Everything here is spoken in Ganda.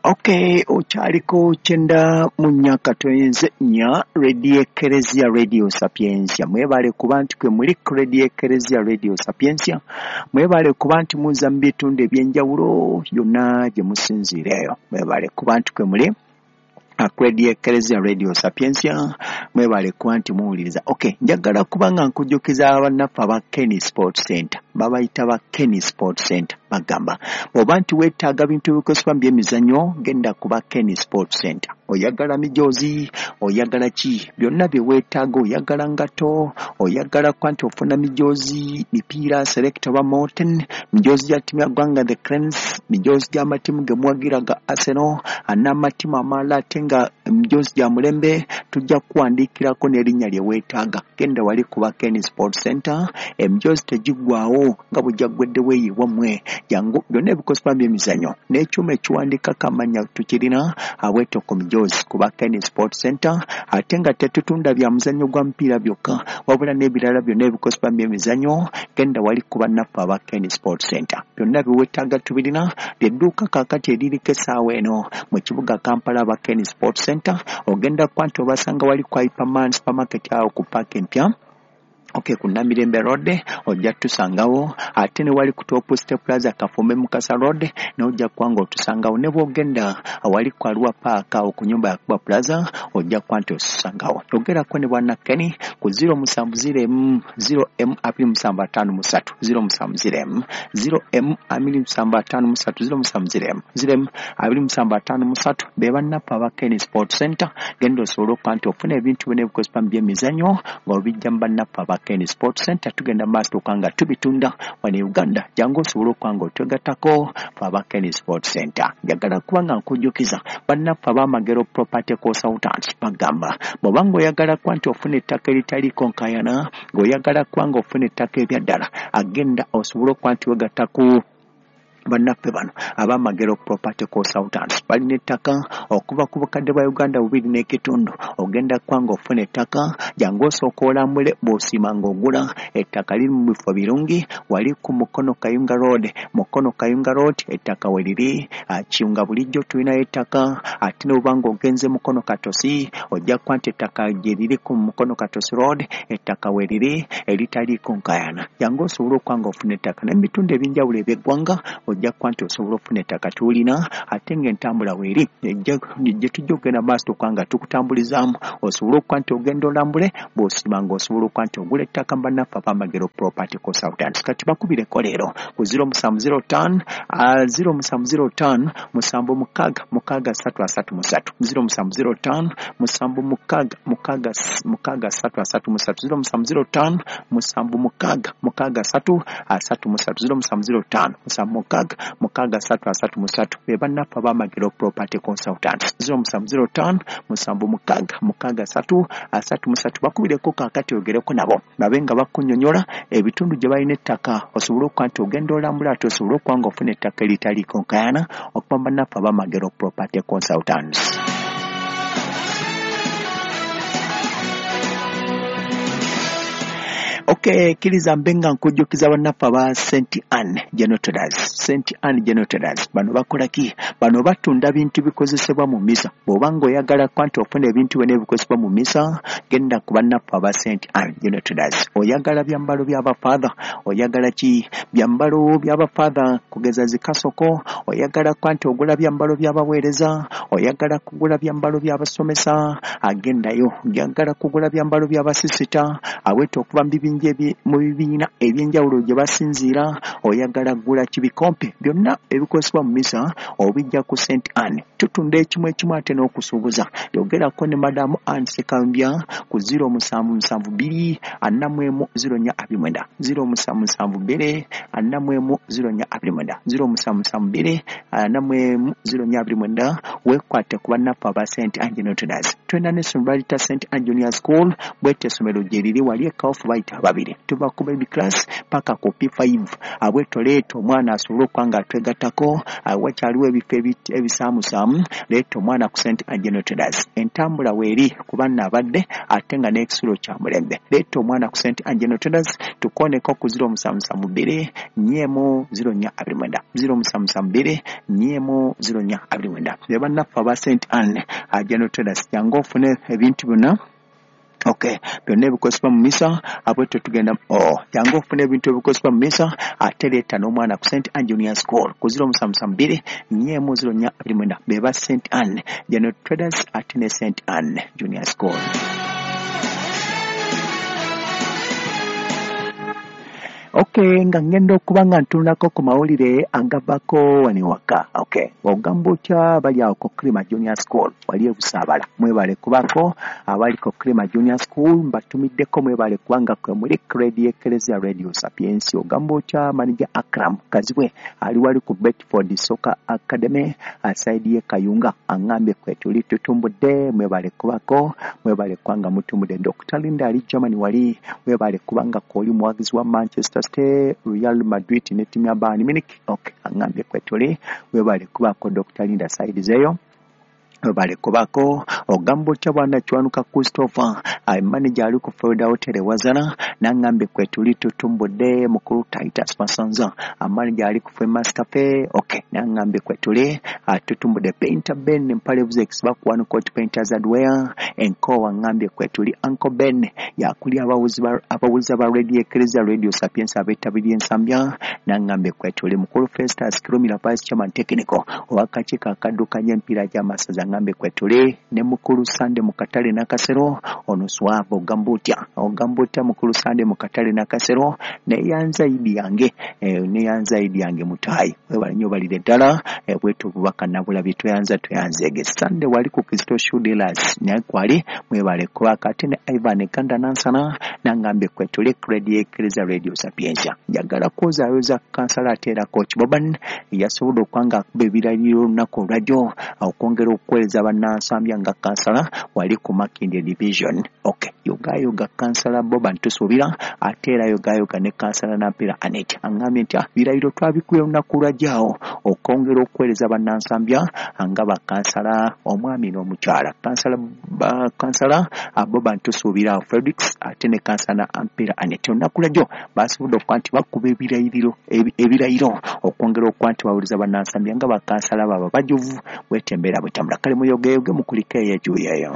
Okay, okyaliko 94.4 Radio Ekereziya Radio Sapientia. Mwebale kuba nti kwe muli ku Radio Ekereziya Radio Sapientia. Mwebale kuba nti muza mu bitundu ebyenjawulo yonna gye musinziira eyo. Mwebale kuba nti kwe muli Radio Ekereziya Radio Sapientia. Mwebale kuba nti muwuliriza. Okay, njagala kuba nga nkujjukiza bannaffe aba Kenny Sports Center. Babayita ba Kenny Sports Center. Bagamba oba nti weetaaga bintu ebikozesebwa mu byemizannyo, genda kuba Kenny Sports Center. Oyagala mijoozi, oyagala ki, byonna bye weetaaga, oyagala ngato, oyagala kuba nti ofuna mijoozi, mipiira select oba Morton, mijoozi gya ttiimu ya ggwanga the Cranes, mijoozi gy'amatiimu ge muwagira ga Arsenal n'amatiimu amalala, ate nga mijoozi gya mulembe, tujja kuwandiikirako n'erinnya lye weetaaga. Genda wali kuba Kenny Sports Center, emijoozi tegiggwaawo nga bwe gyaggweddewo eyo ewammwe. Jangu byonna ebikozesebwa mu byemizannyo n'ekyuma ekiwandiikako amannya tukirina abweto ku mijoozi kuba Kenny Sports Center. Ate nga tetutunda bya muzannyo gwa mupiira byokka, wabula n'ebirala byonna ebikozesebwa mu byemizannyo. Genda wali ku bannaffe aba Kenny Sports Center, byonna bye weetaaga tubirina. Ly'edduuka kaakati eririko essaawa eno mu kibuga Kampala, aba Kenny Sports Center. Ogenda kuba nti obasanga wali ku Hyperman Supermarket awo ku paaka empya. Okay, ku Namirembe Road ojja tusangawo, ate ne wali ku Top Step Plaza Kafumbe Mukasa Road ne ojja kuba nga otusangawo. Ne bw'ogenda awali ku Arua Park awo ku nyumba ya Kuba Plaza ojja kuba nti otusangawo. Yogerako ne bwana Kenny ku 07 0 M 2753 070 0 M 2753 070 0 M 2753. Be bannaffe aba Kenny Sports Center. Genda osobole okuba nti ofuna ebintu byonna ebikozesebwa mu byemizannyo ng'obijja mu bannaffe aba Kenny Sports Center. Tugenda maaso okuba nga tubitunda wano e Uganda. Jangu osobole okuba nga otwegattako fe aba Kenny Sports Center. Njagala kuba nga nkujjukiza bannaffe ab'Amagero Property Consultants. Bagamba bw'oba ng'oyagala kuba nti ofuna ettaka eritaliiko nkaayana, ng'oyagala kuba ng'ofuna ettaka ebyaddala, agenda osobole okuba nti wegatta ku bannaffe bano ab'Amagero Property Consultants. Balina ettaka okuva ku bukadde bwa Uganda 2.5. Ogenda kuba ng'ofuna ettaka, jangu osooka olambule, bw'osiima ng'ogula. Ettaka liri mu bifo birungi, wali ku Mukono Kayunga Road. Mukono Kayunga Road ettaka we liri. Kiyunga bulijjo tulinayo ettaka, ate ne bw'oba ng'ogenze Mukono Katosi ojja kuba nti ettaka gye liri ku Mukono Katosi Road, ettaka we liri eritaliiko nkaayana. Jangu osobole okuba ng'ofuna ettaka ne mu bitundu ebyenjawulo eby'eggwanga ojja kuba nti osobola okufuna ettaka tulina, ate ng'entambula weeri gye tujja okugenda maaso okuba nga tukutambulizaamu osobole okuba nti ogenda olambule, bw'osiima ng'osobola okuba nti ogula ettaka mu bannaffe ab'Amagero Property Consultants. Kati bakubireko leero ku 0705 0705 76 63 33 0705 76 63 33 0705 76 63 33 0705 76 63 33. Be bannaffe ab'Amagero Property Consultants. 0705 76 63 33. Bakubireko kaakati ogereko nabo babe nga bakunnyonnyola ebitundu gye balina ettaka osobole okuba nti ogenda olambula, ate osobole okuba nga ofuna ettaka eritaliiko nkaayana okuva mu bannaffe ab'Amagero Property Consultants. Okay, kkiriza mbe nga nkujjukiza bannaffe aba St Anne General Traders. St Anne General Traders bano bakola ki? Bano batunda bintu bikozesebwa mu misa. Bw'oba ng'oyagala kuba nti ofuna ebintu byonna ebikozesebwa mu misa, genda ku bannaffe aba St Anne General Traders. Oyagala byambalo by'abafaatha, oyagala ki? Byambalo by'abafaatha kugeza zikasoko, oyagala kuba nti ogula byambalo by'abaweereza, oyagala kugula byambalo by'abasomesa, agendayo. Oyagala kugula byambalo by'abasisita, aweta okuva mu bibinja mu bibiina ebyenjawulo gye basinziira, oyagala kugula kibikompe, byonna ebikozesebwa mu misa obijja ku St Anne. Tutunda ekimu ekimu ate n'okusuubuza. Yogerako ne Madamu Anne Sekambya ku 0772 41 0429 0772 41 0429 0772 41 0429. Weekwate ku bannaffe aba St Anne General Traders. Tulina n'essomero baliyita St Anne Junior School, bwetyo essomero gye liri wali e Kawufu bayita ababiri, tuva ku baby class paka ku P5. Abwetyo leeta omwana asobole okuba nga atwegattako, wakyaliwo ebifo ebisaamusaamu, leeta omwana ku St Anne General Traders. Entambula weeri kuba nno abadde ate nga n'ekisulo kya mulembe. Leeta omwana ku St Anne General Traders, tukooneko ku 0772 4 0429, 0772 4 0429. Be bannaffe aba St Anne General Traders, jangu ofune ebintu byonna. Okay, byonna ebikozesebwa mu misa, abwetyo tugenda jangu ofune ebintu ebikozesebwa mu misa, ate leeta n'omwana ku St Anne Junior School ku 0772 4 0429. Be ba St Anne General Traders ate ne St Anne Junior School. Okay, nga ngenda okuba nga ntunulako ku mawulire agavako wano ewaka. Okay, ogamba otya bali awo ku Krima Junior School wali e Busaabala, mwebale kubako abali ku Krima Junior School mbatumiddeko, mwebale kubanga kwe muli Radio Ecclesia Radio Sapientia. Ogamba otya manager Akram Kazibwe ali wali ku Bedford Soccer Academy aside ye Kayunga, aŋŋambye kwe tuli tutumbudde, mwebale kubako, mwebale kubanga mutumbudde. Dr. Linda ali Germany wali, mwebale kubanga kwoli muwagizi wa Manchester City, Real Madrid ne ttiimu ya Bayern Munich. Okay, aŋŋambye kwe tuli, mwebale kubako Dr. Linda side zeeyo, mwebale kubako. Ogamba otya bwana Kiwanuka Christopher manager ali ku Florida Hotel e Wazana, n'aŋŋambye kwe tuli tutumbudde. Mukulu Titus Masanza manager ali ku Famous Cafe. Okay, n'aŋŋambye kwe tuli tutumbudde. Painter Ben Mpalevuzex bakuwano Court Painters Hardware Enkowa, aŋŋambye kwe tuli. Uncle Ben yakuli abawuliza ba Radio Ecclesia Radio Sapientia abeetabirye Ensambya, n'aŋŋambye kwe tuli. Mukulu Festus Kirumira Vice Chairman Technical ow'akakiiko akaddukanya emipiira gy'amasaza, aŋŋambye kwe tuli. Ne mukulu Sande mu katale Nakasero ono swava, ogamba otya, ogamba otya mukulu Sande mu katale Nakasero, neyanza idi yange neyanza idi yange mutaayi, webale nnyo balire ddala. Bwetyo obubaka nabulabye, tweyanza tweyanzeege. Sande wali ku Kristo Shoe Dealers naye kwali, mwebale kubaka. Ate ne Ivan Ganda Nansana n'aŋŋambye kwe tuli Radio Ecclesia Radio Sapientia. Njagala kwozaayoza kansala ate era Coach Boban yasobodde okuba nga akuba ebirayiro olunaku olwajjo okwongera okuweereza bannansambya nga kansala wali ku Makindye Division. Okay, yogayoga kansala Boban tusuubira, ate era yogayoga ne kansala Nampeera Anet aŋŋambye nti birayiro twabikubye olunaku olwajjo okwongera okuweereza bannansambya nga bakansala omwami n'omukyala. Kansala Boban tusuubira Fredricks ate ne kansala Nampeera Anet olunaku lwajjo basobodde okuba nti bakuba ebirayiro okwongera okuba nti bawuliza bannansambya nga bakansala baaba bajuvu, bwetyo embeera bwetambula. Kale muyogeyoge mukulike eyo ejuuyo eyo.